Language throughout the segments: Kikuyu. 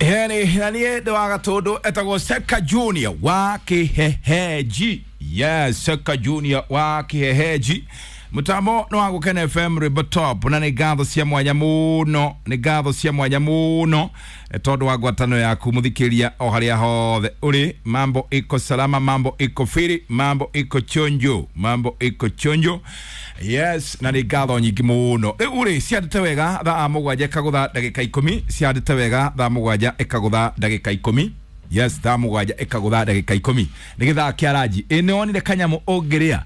Heni na niĩ ndĩ wa Gatũndũ, etagwo Seka Junior wa Kĩhehenji. Yes, Seka Junior wa Kĩhehenji. Mũtambo nĩ wa Gũkena FM, rwĩmbo top, na nĩ ngatho cia mwanya mũno, nĩ ngatho cia mwanya mũno tondũ wa ngwatanĩro yaku mũthikĩria o harĩa hothe ũrĩ. Mambo iko salama, mambo iko firi, mambo iko chonjo, mambo iko chonjo. Yes, na nĩ ngatho nyingĩ mũno. Rĩu rĩ, ciandĩte wega thaa 7 ĩkagũtha ndagĩka 10, ciandĩte wega thaa 7 ĩkagũtha ndagĩka 10. Yes, thaa 7 ĩkagũtha ndagĩka 10, nĩ gĩthaa kĩa ranji. Ĩ nĩ wonire kanyamũ ũngĩrĩa?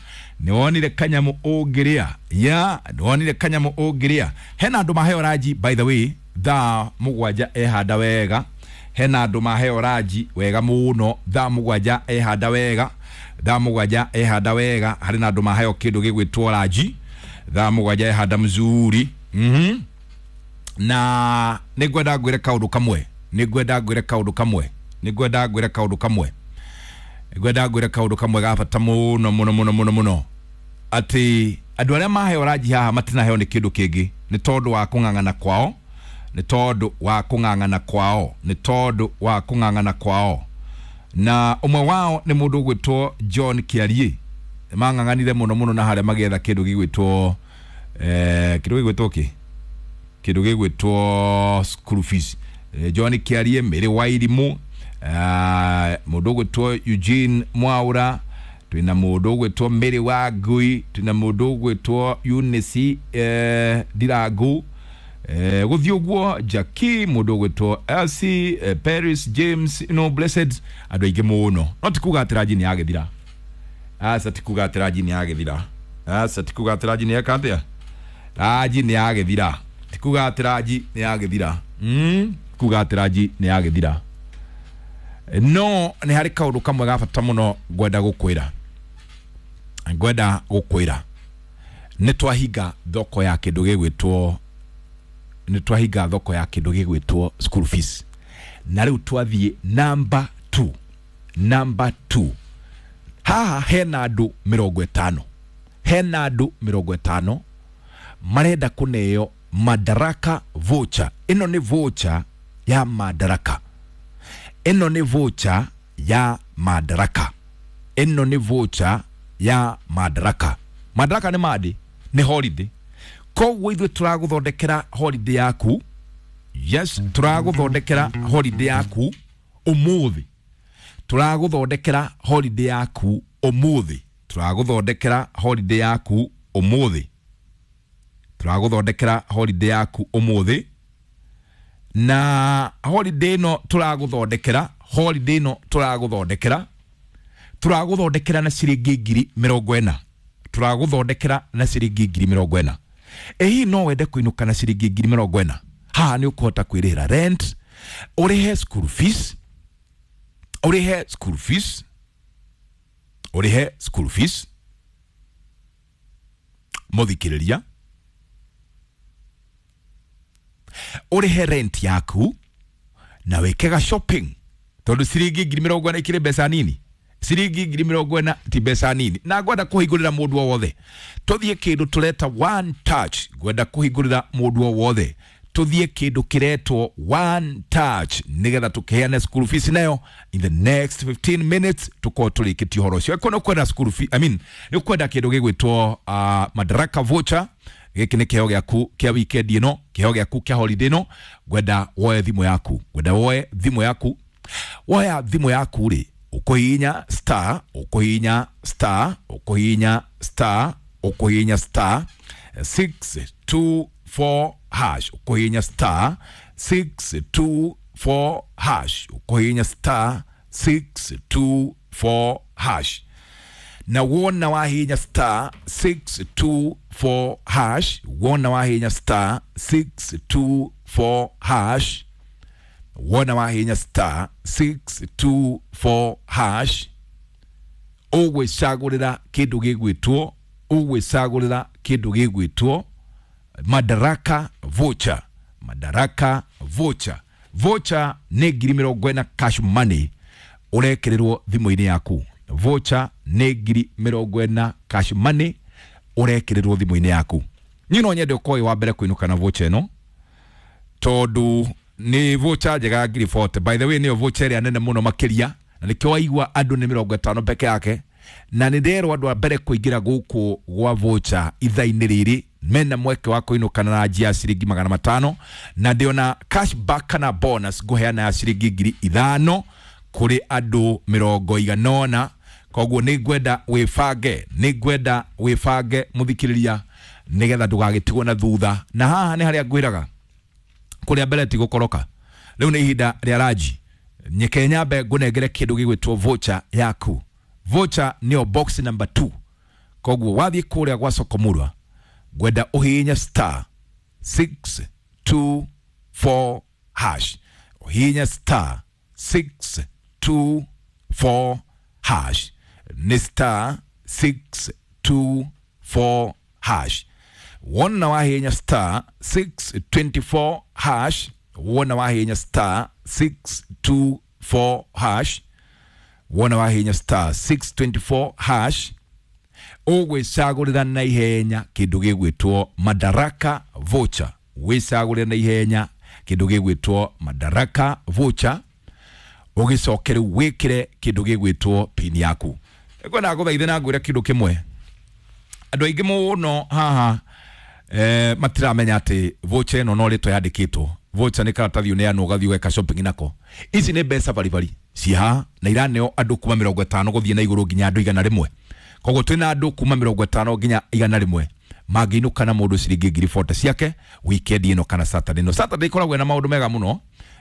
Nĩ wonire kanyamũ ũngĩrĩa? Ya, nĩ wonire kanyamũ ũngĩrĩa? Hena andũ maheo ranji, by the way, thaa 7 ehanda wega. Hena andũ maheo ranji wega mũno, thaa 7 ehanda wega, thaa 7 ehanda wega. Harĩ na andũ maheo kĩndũ gĩgwĩtwo ranji thaa 7 ehanda mzuri. Na nĩ ngwenda ngwĩre kaũndũ kamwe, nĩ ngwenda ngwĩre kaũndũ kamwe, nĩ ngwenda ngwĩre kaũndũ kamwe, ngwenda ngwĩre kaũndũ kamwe ga bata mũno mũno mũno mũno mũno, atĩ andũ arĩa maheo ranji haha matinaheo nĩ kĩndũ kĩngĩ, nĩ tondũ wa kũng'ang'ana kwao, nĩ tondũ wa kũng'ang'ana kwao, nĩ tondũ wa kũng'ang'ana kwao. Na ũmwe wao nĩ mũndũ ũgwĩtwo John Kĩariĩ. Mang'ang'anire mũno mũno na harĩa magĩetha kĩndũ gĩgwĩtwo kĩndũ gĩgwĩtwo kĩ kĩndũ gĩgwĩtwo school fees. John Kĩariĩ, Mary Wairimũ, mũndũ ũgwĩtwo Eugene Mwaura, twĩna mũndũ ũgwĩtwo Mary Wangui, twĩna mũndũ ũgwĩtwo Eunice Ndirangu, gũthiĩ ũguo, Jackie, mũndũ ũgwĩtwo Elsie, Paris James, no blessed, andũ aingĩ mũno. No ti kuga atĩ ranji nĩ yagĩthira. Aca, ti kuga atĩ ranji nĩ yagĩthira. Aca, ti kuga atĩ ranji nĩ yeka atĩa, ranji nĩ yagĩthira. Ti kuga atĩ ranji nĩ yagĩthira. Kuga atĩ ranji nĩ yagĩthira, no nĩ harĩ kaũndũ kamwe ga bata mũno ngwenda gũkwĩra, ngwenda gũkwĩra nĩ twahinga thoko ya kĩndũ gĩgwĩtwo, nĩ twahinga thoko ya kĩndũ gĩgwĩtwo school fees, na rĩu twathiĩ number 2. Number 2, haha hena andũ 50, hena andũ 50 marenda kũneo Madaraka voucher. Ĩno nĩ voucher ya Madaraka, ĩno nĩ voucher ya Madaraka, ĩno nĩ voucher ya Madaraka. Madaraka nĩ mandi, nĩ holiday. Koguo ithuĩ tũragũthondekera holiday yaku. Yes, tũragũthondekera holiday yaku ũmũthĩ, tũragũthondekera holiday yaku ũmũthĩ, tũragũthondekera holiday yaku ũmũthĩ, tũragũthondekera holiday yaku ũmũthĩ. Na holiday ĩno tũragũthondekera, holiday ĩno tũragũthondekera, tũragũthondekera na ciringi 40,000, tũragũthondekera na ciringi 40,000. Ĩ hihi no wende kũinũka na ciringi 40,000? Haha nĩ ũkũhota kwĩrĩhĩra rent, ũrĩhe school fees, ũrĩhe school fees, ũrĩhe school fees, mũthikĩrĩria, ũrĩhe rent yaku na wĩke ga shopping, tondũ ciringi 40,000 ikĩrĩ mbeca nini. Ciringi 40,000 ti mbeca nini. Na ngwenda kũhingũrĩra mũndũ o wothe tũthiĩ kĩndũ tũreta one touch. Ngwenda kũhingũrĩra mũndũ o wothe tũthiĩ kĩndũ kĩretwo one touch, nĩgetha tũkĩheane school fees nayo in the next 15 minutes, tũkorwo tũrĩkĩtie ũhoro ũcio. Angĩkorwo nĩ ũkwenda school fee, I mean, nĩ ũkwenda kĩndũ gĩgwĩtwo Madaraka voucher, gĩkĩ nĩ kĩheo gĩaku kĩa weekend ĩno, kĩheo gĩaku kĩa holiday ĩno. Ngwenda woe thimũ yaku, ngwenda woe thimũ yaku. Woya thimũ yaku rĩ, ũkũhihinya star, ũkũhihinya star, ũkũhihinya star, ũkũhihinya star 624 hash, ũkũhihinya star 624 hash, ũkũhihinya star 624 hash. Na wona wahihinya star 624 hash, wona wahihinya star 624 hash, wona wahihinya star 624 hash, ũgwĩcagũrĩra kĩndũ gĩgwĩtwo, ũgwĩcagũrĩra kĩndũ gĩgwĩtwo Madaraka voucher. Madaraka voucher, voucher nĩ 40,000 cash money ũrekĩrĩrwo thimũ-inĩ yaku. Voucher nĩ 40,000 cash money ũrekĩrĩrwo thimũ-inĩ yaku. Niĩ no nyende ũkorwo wĩ wa mbere kũinũka na voucher ĩno, tondũ Nĩ voucher njega ya ngiri 40. By the way, nĩyo voucher ĩrĩa nene mũno makĩria, na nĩkĩo waigua andũ nĩ 50 peke yake. Na nĩ nderwo andũ a mbere kũingĩra gũkũ gwa voucher ithaa-inĩ rĩrĩ mena mweke wa kũinũkana na njia ya ciringi 500, na ndĩona cashback kana bonus ngũheana ya ciringi 5,000 kũrĩ andũ 80. Koguo nĩ ngwenda wĩbange, nĩ ngwenda wĩbange mũthikĩrĩria, nĩgetha ndũgagĩtigwo na thutha. Na haha nĩ harĩa ngwĩraga kũrĩa mbere ti gũkoroka. Rĩu nĩ ihinda rĩa ranji, nyeke nyambe ngũnengere kĩndũ gĩgwĩtwo voucher yaku. Voucher nĩyo box number 2. Koguo wathiĩ kũrĩa gwa Sokomurwa, ngwenda ũhihinye star 624 hash, ũhihinye star 624 hash, nĩ star 624 hash. Wona wahihinya star 624 hash, wona wahihinya star 624 hash, wona wahihinya star 624 hash, ũgwĩcagũrĩra na ihenya kĩndũ gĩgwĩtwo Madaraka voucher. Wĩcagũrĩra na ihenya kĩndũ gĩgwĩtwo Madaraka voucher, ũgĩcoke rĩu wĩkĩre kĩndũ gĩgwĩtwo pin yaku. Ngwenda ngũthaithe na ngwĩre kĩndũ kĩmwe, andũ aingĩ mũno haha matiramenya atĩ voucher ĩno no rĩtwa yandĩkĩtwo. Voucher nĩ karatathi ũneanwo ũgathiĩ ũgeka shopping nako. Ici nĩ mbeca baribari ciĩ haha, na iraneo andũ kuma 50 gũthiĩ na igũrũ nginya andũ 100. Koguo twĩna andũ kuma 50 nginya 100 mangĩinũka na mũndũ ciringi 40,000 ciake weekend ĩno kana Saturday ĩno. Saturday ĩkoragwo ĩna maũndũ mega mũno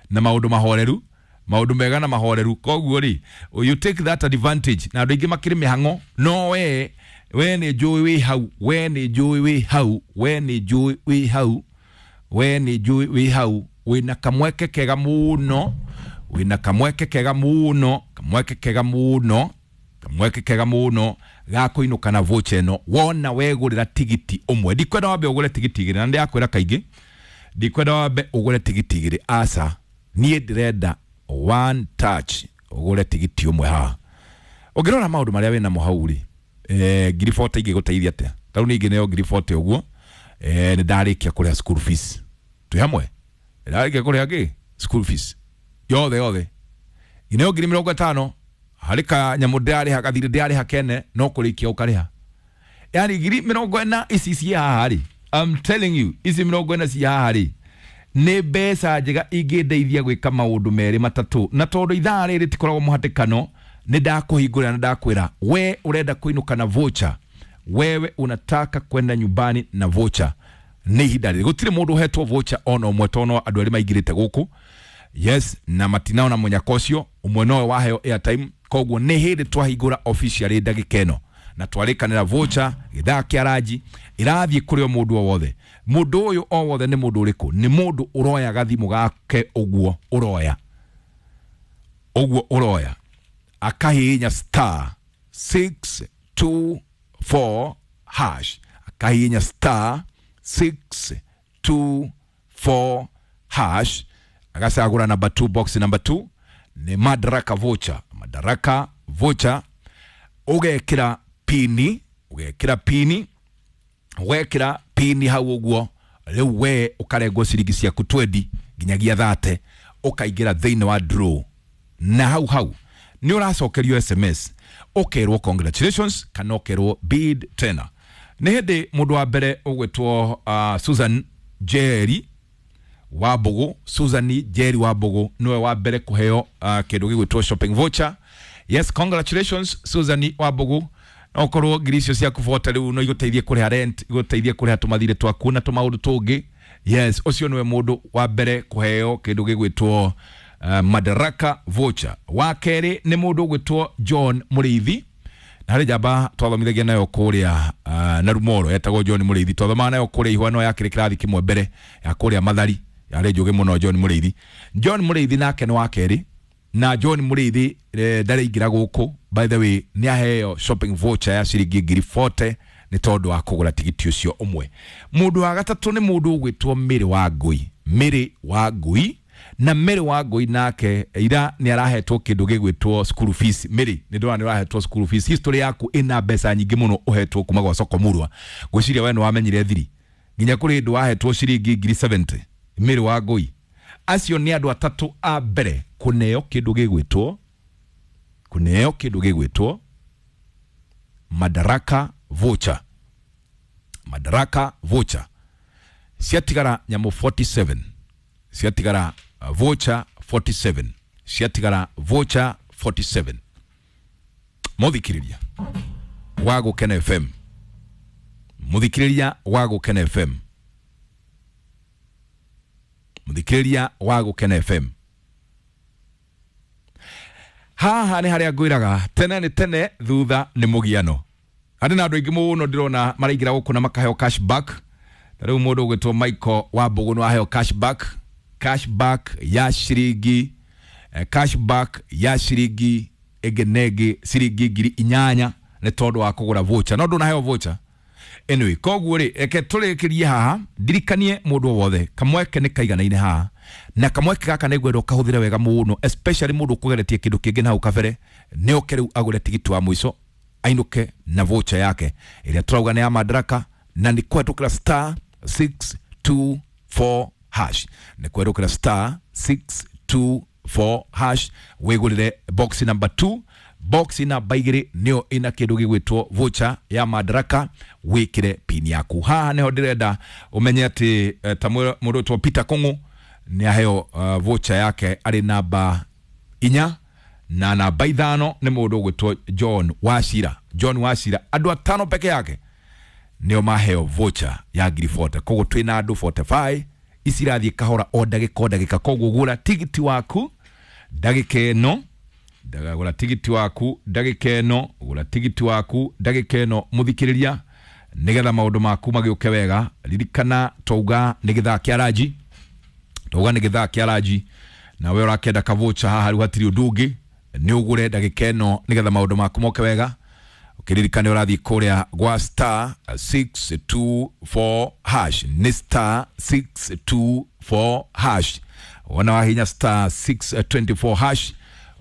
na maũndũ mahoreru, maũndũ mega na mahoreru. Koguo rĩ, you take that advantage. Na andũ aingĩ makĩrĩ mĩhang'o, no we nĩ njũĩ wĩ hau, we nĩ njũĩ wĩ hau, we nĩ njũĩ wĩ hau, we nĩ njũĩ wĩ hau, wĩna kamweke kega mũno, wĩna kamweke kega mũno, kamweke kega mũno, kamweke kega mũno ga kũinũka na voucher ĩno. Wona wegũrĩra tigiti ũmwe, ndikwenda wambe ũgũre tigiti igĩrĩ, na ndĩrakwĩra kaingĩ ndikwenda wambe ũgũre tigiti igĩrĩ, aca, niĩ ndĩrenda one touch ũgũre tigiti ũmwe haha. Ũngĩrora maũndũ marĩa wĩnamo hau rĩ, 40,000 ingĩgũteithia atĩa? Ta rĩu niĩ ingĩneo 40,000 ũguo, nĩ ndarĩkia kũrĩha school fees. Twĩ hamwe? Ndarĩkia kũrĩha kĩ? School fees yothe yothe. Ineo 50,000 harĩ kanyamũ ndĩrarĩha, gathirĩ ndĩrarĩha kene, no kũrĩkia ũkarĩha. Yani 40,000 ici ciĩ haha rĩ, I'm telling you, ici 40 ciĩ haha rĩ, nĩ mbeca njega ingĩndeithia gwĩka maũndũ merĩ matatũ. Na tondũ ithaa rĩrĩ rĩtikoragwo mũhatĩkano, nĩ ndakũhingũrĩra na ndakwĩra we ũrenda kũinũka na voucher, wewe unataka kwenda nyumbani na voucher, nĩ ihinda rĩrĩ. Gũtirĩ mũndũ ũhetwo voucher ona ũmwe, tondũ no andũ erĩ maingĩrĩte gũkũ, yes, na matinaona mũnyaka ũcio, ũmwe nowe waheo airtime. Koguo nĩ hĩndĩ twahingũra officially ndagĩka ĩno na twarĩkanĩra voucher gĩthaa kĩa ranji ĩrathiĩ kũrĩ o mũndũ o wothe. Mũndũ ũyũ o wothe nĩ mũndũ ũrĩkũ? Nĩ mũndũ ũroya gathimũ gake ũguo ũroya, ũguo ũroya, akahihinya star 624 hash, akahihinya star 624 hash, agacagũra number 2, box number 2 nĩ Madaraka voucher. Madaraka voucher, ũgekĩra pini, ũgekĩra pini, wekĩra pini hau ũguo, rĩu we ũkarengwo ciringi ciaku 20 nginyagia 30, ũkaingĩra thĩinĩ wa draw. Na hau hau nĩ ũracokerio SMS, ũkerwo congratulations kana ũkerwo bid tena. Nĩ hĩndĩ mũndũ wa mbere ũgwĩtwo Susan Jerry wa Mbogo, Susan Jerry wa Mbogo nĩwe wa mbere kũheo kĩndũ gĩgwĩtwo shopping voucher. Yes, congratulations Susan wa Mbogo. No korwo ngiri icio ciaku 40 rĩu no igũteithie kũrĩha rent, igũteithie kũrĩha tũmathirĩ twaku na tũmaũndũ tũngĩ. Yes, ũcio nĩwe mũndũ wa mbere kũheo kĩndũ gĩgwĩtwo Madaraka voucher. Wa kerĩ nĩ mũndũ ũgwĩtwo John Mũrĩithi, na harĩ njamba twathomithagia nayo kũrĩa na Rumoro, etagwo John Mũrĩithi, twathomaga nayo kũrĩa Ihwano ya kĩrĩ kĩrathi kĩmwe mbere ya kũrĩa Mathari, yarĩ njũgĩ mũno John Mũrĩithi. John Mũrĩithi nake nĩ wa kerĩ, na John Mũrĩithi ndareingĩra gũkũ, by the way, nĩ aheo shopping voucher ya ciringi 40,000 nĩ tondũ wa kũgũra tigiti ũcio ũmwe. Mũndũ wa gatatũ nĩ mũndũ ũgwĩtwo Mary wa Ngũi, Mary wa Ngũi, na Mary wa Ngũi nake ira nĩ arahetwo kĩndũ gĩgwĩtwo school fees. Mary nĩ ndona nĩ ũrahetwo school fees, history yaku ĩna mbeca nyingĩ mũno ũhetwo kuma gwa Sokomurwa. Ngwĩciria we nĩ wamenyire thiri nginya kũrĩ hĩndĩ wahetwo ciringi 70,000. Mary wa Ngũi Acio nĩ andũ atatũ a mbere kũneo kĩndũ gĩgwĩtwo, kũneo kĩndũ gĩgwĩtwo Madaraka voucher. Madaraka voucher ciatigara nyamũ 47, ciatigara voucher 47, ciatigara voucher 47. Muthikiriria wa Gukena FM, muthikiriria wa Gukena FM, muthikiriria wa Gukena FM, haha nĩ harĩa ngwĩraga tene nĩ tene, thutha nĩ mũgiano. Harĩ na andũ aingĩ mũno ndĩrona maraingĩra gũkũ na makaheo cashback. Ta rĩu mũndũ ũgwĩtwo Michael wa Mbũgũ nĩ waheo cashback, cashback ya ciringi cashback ya ciringi ĩngĩ na ĩngĩ ciringi 8,000 nĩ tondũ wa kũgũra voucher, no ndũnaheo voucher anyway. Koguo rĩ, reke tũrĩkĩrie haha, ndirikanie mũndũ o wothe kamweke nĩ kaiganaine haha, na kamweke gaka nĩ ngwenda ũkahũthĩre wega mũno, especially mũndũ ũkũgeretie kĩndũ kĩngĩ na hau kabere, nĩ oke rĩu agũre tigiti wa mũico ainũke na voucher yake ĩrĩa tũrauga nĩ ya Madaraka, na nĩ kũhetũkĩra star 624 hash, nĩ kũhetũkĩra star 624 hash wĩgũrĩre box number 2, box namba 2 nĩyo ĩna kĩndũ gĩgwĩtwo voucher ya Madaraka, wĩkĩre pin yaku. Haha nĩho ndĩrenda ũmenye atĩ ta mũndũ wĩtwo Peter Kũng'ũ nĩ aheo voucher yake arĩ namba 4, na namba 5 nĩ mũndũ ũgwĩtwo John Wachira. John Wachira, andũ atano peke yake nĩo maheo voucher ya 40,000. Koguo twĩna andũ 45, ici irathiĩ kahora o ndagĩka o ndagĩka. Koguo gũra tigiti waku ndagĩka ĩno, gũra tigiti waku ndagĩka ĩno, gũra tigiti waku ndagĩka ĩno mũthikĩrĩria, nĩgetha maũndũ maku magĩũke wega. Ririkana twauga nĩ gĩthaa kĩa ranji, twauga nĩ gĩthaa kĩa ranji, na we ũrakĩenda kavocha haha rĩu hatirĩ ũndũ ũngĩ, nĩ ũgũre ndagĩka ĩno nĩgetha maũndũ maku moke wega. Ũkĩririkana ũrathiĩ kũrĩa gwa star 624 hash, nĩ star 624 hash. Wona wahinya star 624 hash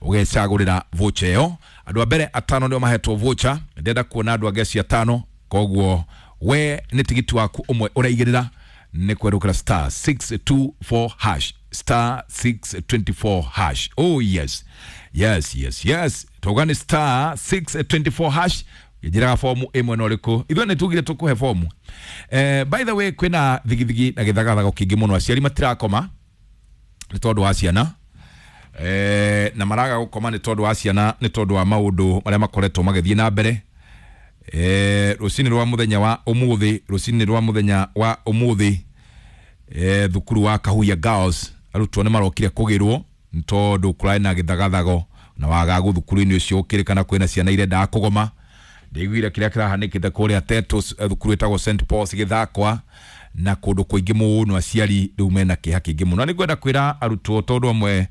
ũgecagũrĩra voucher ĩyo. Andũ a mbere atano nĩo mahetwo voucher, ndĩrenda kuona andũ angĩ acio atano. Koguo we nĩ tigiti waku ũmwe ũraigĩrĩra, nĩ kwerũkĩra star 624 hash, star 624 hash. Oh yes, yes, yes, yes, tauga nĩ star 624 hash. Njĩraga fomu ĩmwe na ũrĩkũ, ithuĩ nĩ tugire tũkũhe fomu. By the way, kwĩna thigithigi na gĩthagathago kĩingĩ mũno, aciari matirakoma nĩ tondũ wa ciana, na maraga gũkoma nĩ tondũ wa ciana, nĩ tondũ wa maũndũ marĩa makoretwo magĩthiĩ na mbere. Rũcinĩ rwa mũthenya wa ũmũthĩ, rũcinĩ rwa mũthenya wa ũmũthĩ, thukuru wa Kahuhia Girls arutwo nĩ marokire kũgĩrwo nĩ tondũ kũrarĩ na gĩthagathago na wagagu thukuru-inĩ ũcio, ũkĩrĩkana kwĩna ciana irendaga kũgoma. Ndĩiguire kĩrĩa kĩrahanĩkĩte kũrĩa Tetos, thukuru ĩtagwo St Paul's Gĩthakwa, na kũndũ kũingĩ mũno aciari rĩu mena kĩeha kĩingĩ mũno. Na nĩngwenda kwĩra arutwo tondũ amwe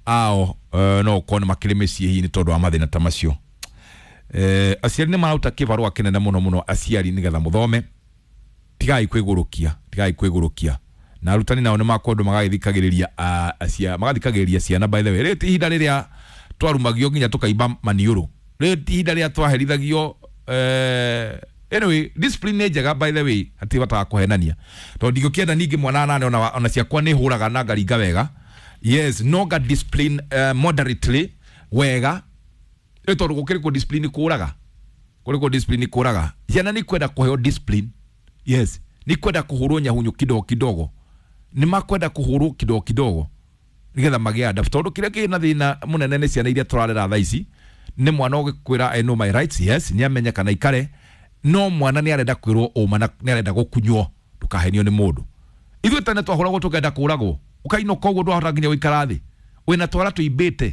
ao no ũkorwo nĩ makĩrĩ mĩciĩ hihi nĩ tondũ wa mathĩna ta macio. Aciari nĩ marauta kĩbarũa kĩnene mũno mũno, aciari nĩgetha mũthome, tigai kwĩgũrũkia, tigai kwĩgũrũkia. Na arutani nao nĩ makwendwo magagĩthikagĩrĩria magathikagĩrĩria ciana. By the way, rĩrĩ ti ihinda rĩrĩa twarumagio nginya tũkaimba maniũrũ, rĩrĩ ti ihinda rĩrĩa twaherithagio. Anyway, discipline nĩ njega by the way, hatirĩ bata wa kũhenania, tondũ ndingĩkĩenda ningĩ mwana nane ona ciakwa nĩ hũraga na ngaringa wega. Yes, no nga discipline moderately wega, ĩ tondũ gũkĩrĩ kũ discipline kũraga, kũrĩ kũ discipline kũraga. Ciana nĩ kwenda kũheo discipline, yes, nĩ kwenda kũhũrwo nyahunyu kidogo kidogo, nĩ makwenda kũhũrwo kidogo kidogo nĩgetha magĩe adapt, tondũ kĩrĩa kĩna thĩna mũnene nĩ ciana iria tũrarera thaa ici, nĩ mwana ũgĩkwĩra I know my rights, yes, nĩ amenye kana ikare, no mwana nĩ arenda kwĩrwo ũma na nĩ arenda gũkunywo, ndũkahenio nĩ mũndũ. Ithuĩ tene twahũragwo tũkenda kũragwo, ũkainũka ũguo ndwahota nginya gũikara thĩ, wĩna twara tũimbĩte.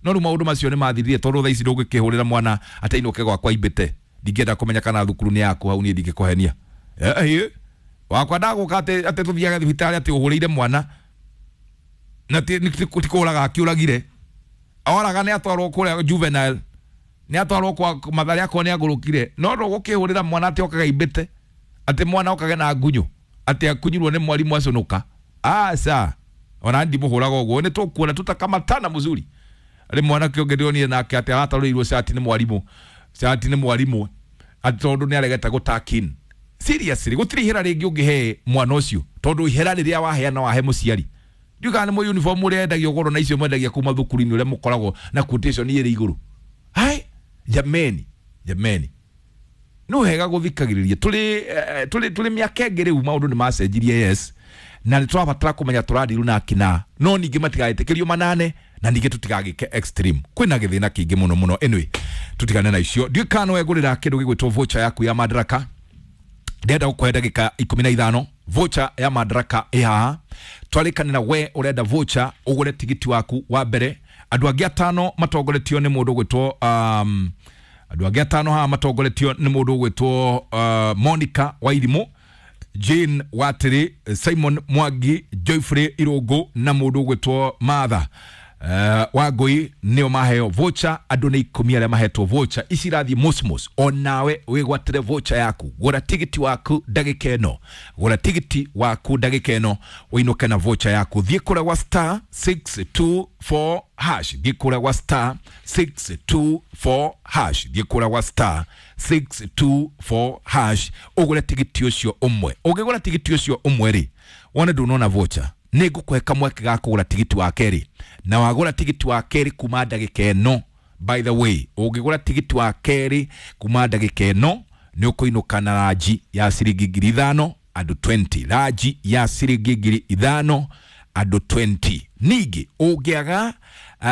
No rĩu maũndũ macio nĩ mathirire, tondũ thaa ici ndũngĩkĩhũrĩra mwana atĩ ainũke gwakwa aimbĩte. Ndingĩenda kũmenya kana thukuru nĩ yaku hau, niĩ ndingĩkũhenia. Wakwa ndagũka atĩ tũthiage thibitarĩ atĩ ũhũrĩire mwana na ti kũraga akĩũragire, oraga nĩ atwarwo kũrĩa juvenile, nĩ atwarwo kwa Mathare akorwo nĩ agũrũkire, no ndũgũkĩhũrĩra mwana atĩ okage aimbĩte, atĩ mwana okage na ngunyu, atĩ akunyirwo nĩ mwarimũ acunuka. Aca, ona ndimũhũraga ũguo, nĩ tũkuona tutakamatana mzuri. Rĩ mwanake ũngĩ ndĩronire nake atĩ aratarũrĩirwo cati nĩ mwarimũ, cati nĩ mwarimũ atĩ tondũ nĩ aregete gũtakin. Seriously, gũtirĩ ihera rĩngĩ ũngĩhe mwana ũcio, tondũ ihera rĩrĩa waheana wahe mũciari. Ndiũĩ kana nĩ uniform ũrĩa endagio goro na icio mwendagia kuma thukuru-inĩ ũrĩa mũkoragwo na quotation ĩrĩ igũrũ. Hai jameni, jameni, no hega guthikagiriria turi miaka ĩngĩ rĩu maũndũ nĩ macenjirie, yes, na nĩ tũrabatara kũmenya tũradiru na akina, no ningĩ matigaĩtĩkĩrio manane na ningĩ tũtigagĩke extreme. Kwĩna gĩthĩna kĩingĩ mũno mũno. Anyway, tutigane na icio. Ndiũĩ kana no wegũrĩra kĩndũ gĩgwĩtwo voucher yaku ya Madaraka. Ndĩrenda gũkũhe ndagĩka 15. Voucher ya Madaraka ĩ haha, twarĩkanĩra we ũrenda voucher ũgũre tigiti waku wa mbere. Andũ angĩ atano matongoretio nĩ mũndũ ũgwĩtwo andũ angĩ atano haha matongoretio nĩ mũndũ ũgwĩtwo Monica Wairimũ, Jane Watiri, Simon Mwangi, Joyfrey Irũngũ na mũndũ ũgwĩtwo Martha Wangũi nĩo maheo voucher. Andũ nĩ 10 arĩa mahetwo voucher ici irathiĩ mosmos. Onawe wĩgwatĩre voucher yaku, gũra tigiti waku ndagĩka ĩno, gũra tigiti waku ndagĩka ĩno ũinũke na voucher yaku. Thiĩ kũrĩa gwa star 624 hash, thiĩ kũrĩa gwa star 624 hash, thiĩ kũrĩa gwa star 624 hash ũgũre tigiti ũcio ũmwe. Ũngĩgũra tigiti ũcio ũmwe rĩ, wone ndũnona voucher, nĩ ngũkũhe kamweke ga kũgũra tigiti wa kerĩ, na wagũra tigiti wa kerĩ kuma ndagĩka ĩno, by the way, ũngĩgũra tigiti wa kerĩ kuma ndagĩka ĩno nĩ ũkũinũka na ranji ya ciringi 5,000 andũ 20, ranji ya ciringi 5,000 andũ 20. Ningĩ ũngĩaga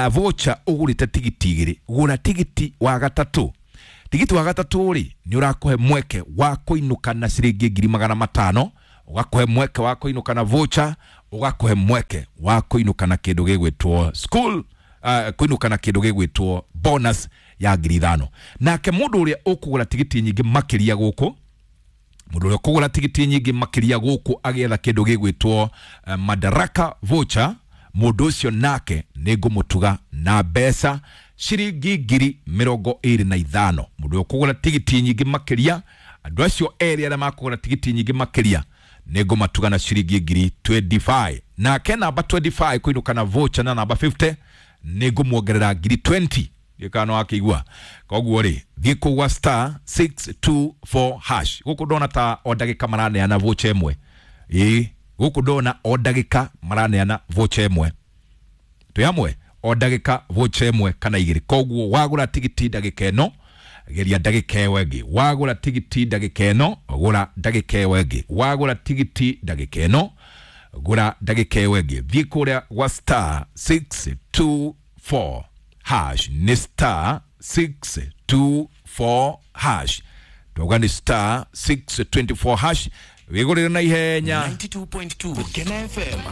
voucher ũgũrĩte tigiti igĩrĩ, gũra tigiti wa gatatũ. Tigiti wa gatatũ rĩ, nĩ ũrakũhe mweke wa kũinũka na ciringi 500,000, ũgakũhe mweke wa kũinũka na voucher, ũgakũhe mweke wa kũinũka na kĩndũ gĩgwĩtwo school kũinũka na kĩndũ gĩgwĩtwo bonus ya 5,000. Nake mũndũ ũrĩa ũkũgũra tigiti nyingĩ makĩria gũkũ, mũndũ ũrĩa ũkũgũra tigiti nyingĩ makĩria gũkũ agĩetha kĩndũ gĩgwĩtwo Madaraka voucher, mũndũ ũcio nake nĩ ngũmũtuga na mbeca ciringi 25,000. Mũndũ ũrĩa ũkũgũra tigiti nyingĩ makĩria, andũ acio erĩ arĩa makũgũra tigiti nyingĩ makĩria nĩ ngũmatuga na ciringi 25,000. Nake namba 25 kũinũka na voucher na namba 50 nĩ ngũmuongerera 20,000. Ndiũĩ no akĩigua. Koguo rĩ, thiĩ kũu gwa star 624 hash. Gũkũ ndona ta o ndagĩka maraneana voucher ĩmwe. Ĩĩ, gũkũ ndona o ndagĩka maraneana voucher ĩmwe. Twĩ hamwe, o ndagĩka voucher ĩmwe kana igĩrĩ. Koguo wagũra tigiti ndagĩka ĩno, geria ndagĩka ĩyo ĩngĩ. Wagũra tigiti ndagĩka ĩno, gũra ndagĩka ĩyo ĩngĩ. Wagũra tigiti ndagĩka ĩno, gũra ndagĩka ĩyo ĩngĩ. Thiĩ kũrĩa gwa star 624 hash, nĩ star 624 hash, twauga nĩ star 624 hash, wĩgũrĩre na ihenya. 92.2 Kena FM.